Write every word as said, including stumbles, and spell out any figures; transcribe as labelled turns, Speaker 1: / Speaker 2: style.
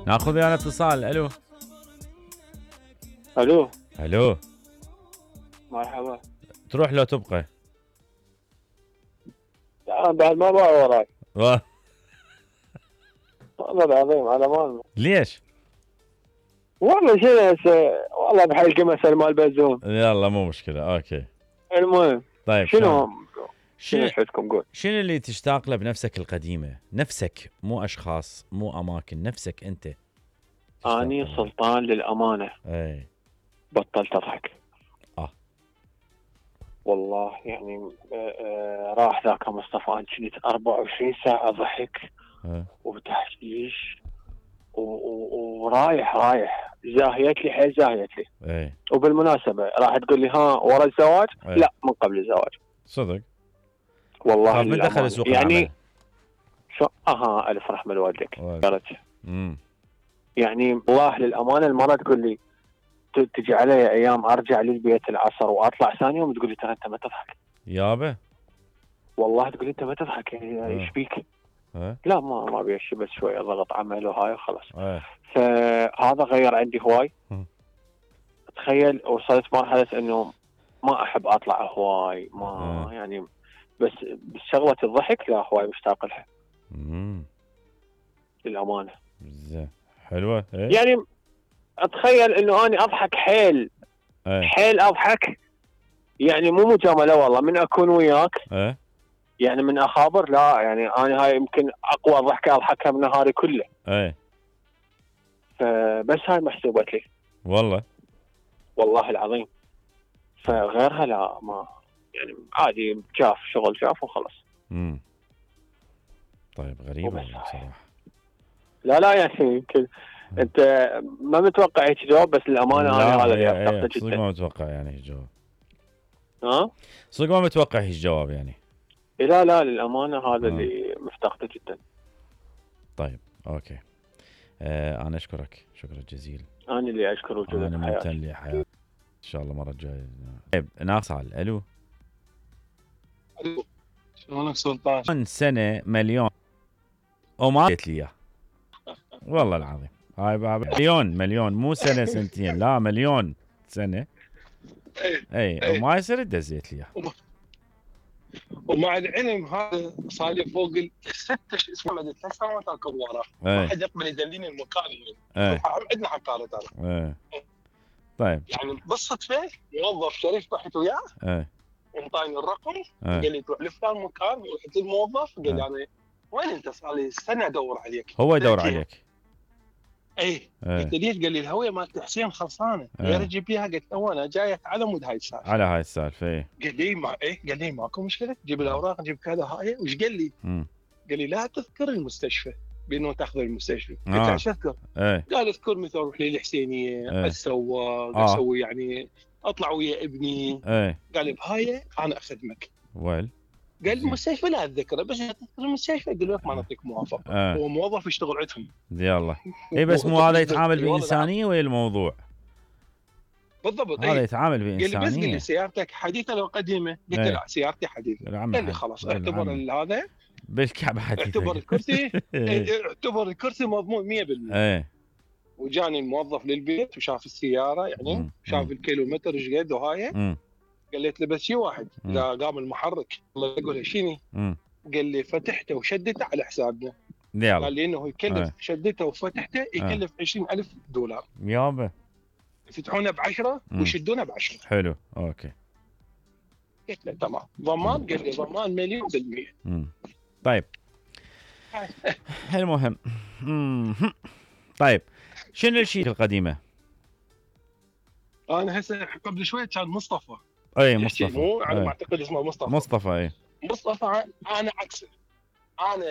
Speaker 1: ناخذ ويانا اتصال. الو
Speaker 2: الو
Speaker 1: الو
Speaker 2: مرحبا.
Speaker 1: تروح لو تبقى؟
Speaker 2: لا بعد ما باع وراي
Speaker 1: و...
Speaker 2: والله العظيم على مالنا.
Speaker 1: ليش؟
Speaker 2: والله شنو هسه والله بحلقه مثل مال بزوم.
Speaker 1: يلا مو مشكله. اوكي
Speaker 2: المهم
Speaker 1: طيب
Speaker 2: شنو
Speaker 1: شنو
Speaker 2: شفتكم قول
Speaker 1: شنو اللي تشتاق له بنفسك القديمه؟ نفسك مو اشخاص مو اماكن، نفسك انت.
Speaker 2: اني سلطان للامانه.
Speaker 1: اي
Speaker 2: بطلت اضحك.
Speaker 1: اه
Speaker 2: والله يعني آه راح ذاك مصطفى انا كنت أربعة وعشرين ساعه ضحك
Speaker 1: اه
Speaker 2: وتحشيش ورايح رايح زاهيت لي حيل زاهيت لي.
Speaker 1: اي
Speaker 2: وبالمناسبه راح تقول لي ها ورا الزواج؟
Speaker 1: ايه.
Speaker 2: لا من قبل الزواج.
Speaker 1: صدق؟
Speaker 2: والله
Speaker 1: من دخل سوق
Speaker 2: يعني
Speaker 1: العمل؟
Speaker 2: شو اها الف رحمه لوالديك.
Speaker 1: امم
Speaker 2: يعني والله للامانه المره تقول لي تجي علي ايام ارجع للبيت العصر واطلع ثاني يوم تقول لي ترى انت ما تضحك
Speaker 1: يابا.
Speaker 2: والله تقول لي انت ما تضحك يعني ايش فيك؟
Speaker 1: اه
Speaker 2: لا ما ما ابي بس شويه ضغط عمل وهاي وخلاص.
Speaker 1: اه
Speaker 2: فهذا غير عندي هواي. تخيل وصلت مرحله انه ما احب اطلع هواي ما
Speaker 1: اه.
Speaker 2: يعني بس بشغله الضحك لا هواي مشتاق لها.
Speaker 1: امم
Speaker 2: للامانه
Speaker 1: زين حلوه. ايه؟
Speaker 2: يعني اتخيل انه اني اضحك حيل
Speaker 1: ايه
Speaker 2: حيل اضحك يعني مو مجامله والله من اكون وياك
Speaker 1: ايه
Speaker 2: يعني من اخابر لا يعني انا هاي يمكن اقوى ضحكه اضحكها بنهاري كله.
Speaker 1: ايه
Speaker 2: فبس هاي محسوبه لي
Speaker 1: والله
Speaker 2: والله العظيم. فغيرها لا ما يعني عادي شاف شغل شاف وخلص.
Speaker 1: امم طيب غريبه بصراحه.
Speaker 2: لا لا يعني يمكن انت ما متوقع هيك جواب بس الامانه انا هذا اللي افتقده جدا.
Speaker 1: صدق ما متوقع يعني هيك جواب.
Speaker 2: ها؟
Speaker 1: صدق ما متوقع هيك جواب يعني.
Speaker 2: لا لا للامانه هذا اللي مفتقده جدا.
Speaker 1: طيب اوكي. آه انا اشكرك شكرا جزيلا.
Speaker 2: انا اللي اشكر وجودك
Speaker 1: انا ممتن لحياتي ان شاء الله المره الجايه. طيب ناصعل. الو
Speaker 3: الو شلونك سلطان؟
Speaker 1: من سنه مليون وما قلت لي اياه والله العظيم. هاي بابا مليون مليون مو سنه سنتين لا مليون سنه. اي اي وما يصير دزيت لي اياه.
Speaker 3: ومع العلم هذا صار لي فوق الست اسمه ثلاث سنوات اركض وراه ما حد يقبل يدليني المكان يعني. عندنا حقاله ترى.
Speaker 1: ايه طيب
Speaker 3: يعني بالصدفه موظف شريف رحت وياه
Speaker 1: ايه
Speaker 3: وانطاني الرقم
Speaker 1: ايه.
Speaker 3: قال لي تروح لفلان مكان ورحت للموظف قال لي يعني وين انت صار لي سنه ادور عليك.
Speaker 1: هو يدور عليك.
Speaker 3: اي قلت ليش؟ قال لي الهويه مالت حسين خلصانه غير اجيب اياها. قلت له انا جاي على مود هاي السالفه
Speaker 1: على هاي السالفه. ايه
Speaker 3: قال لي ما ايه قال لي ماكو مشكله جيب الاوراق جيب كذا هاي. وش قال لي؟
Speaker 1: مم.
Speaker 3: قال لي لا تذكر المستشفى بانه تاخذ المستشفى.
Speaker 1: آه.
Speaker 3: قلت ايش اذكر؟
Speaker 1: ايه.
Speaker 3: قال اذكر مثلا اروح للحسينيه
Speaker 1: ايه.
Speaker 3: اتسوق
Speaker 1: آه.
Speaker 3: اسوي يعني اطلع ويا ابني.
Speaker 1: ايه.
Speaker 3: قال لي بهاي انا اخدمك.
Speaker 1: ويل
Speaker 3: قال المستشفى لا اتذكره بس تذكر المستشفى قال لك ما نعطيك موافقه.
Speaker 1: آه.
Speaker 3: هو موظف يشتغل عندهم.
Speaker 1: يلا اي بس مو هذا يتعامل بانسانيه ويا الموضوع
Speaker 3: بالضبط.
Speaker 1: هذا يتعامل بانسانيه.
Speaker 3: قال لي بس قال لي سيارتك حديثه لو قديمه؟ قلت له لا سيارتي حديثه. قال لي خلاص اعتبر هذا
Speaker 1: بالكعبه حديثه.
Speaker 3: اعتبر الكرسي اعتبر الكرسي مضمون مية بالمية.
Speaker 1: ايه.
Speaker 3: وجاني الموظف للبيت وشاف السياره يعني مم. شاف الكيلومتر ايش قد وهاي. قلت له بس شيء واحد اذا قام المحرك الله يقول شنو؟ قال لي فتحته وشدته على حسابنا. قال لي انه يكلف. آه. شدته وفتحته يكلف آه. عشرين ألف دولار
Speaker 1: يابا.
Speaker 3: يفتحونه بعشرة ويشدونه بعشرة.
Speaker 1: حلو اوكي.
Speaker 3: قلت له تمام. ضمان؟ قال لي ضمان مليون بالمية.
Speaker 1: مم. طيب المهم طيب شنو الشيء القديمه؟
Speaker 3: انا هسه قبل شوي كان مصطفى.
Speaker 1: اي مصطفى.
Speaker 3: مو على ما اعتقد اسمه مصطفى.
Speaker 1: مصطفى اي.
Speaker 3: مصطفى انا عكسه. انا